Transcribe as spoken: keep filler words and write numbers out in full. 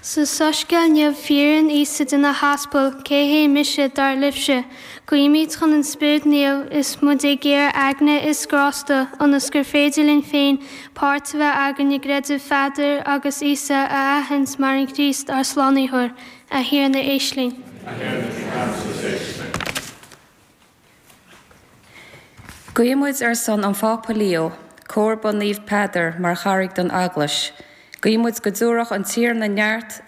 Sa soiscéal inniu fiafraíonn Íosa de na haspail, cé hé mise dar libhse? Guímid chun an Spiorad Naomh is muid ag iarraidh eagna is grásta ionas gur féidir linn féin páirt a bheith againn i gcreideamh Pheadair agus Íosa a aithint mar an Críost ár Slánaitheoir, a Thiarna éist linn. Guímid ar son an Phápa Leo, comharba Naomh Peadar mar charraig don Eaglais. Guímid go dtabharfadh an Tiarna neart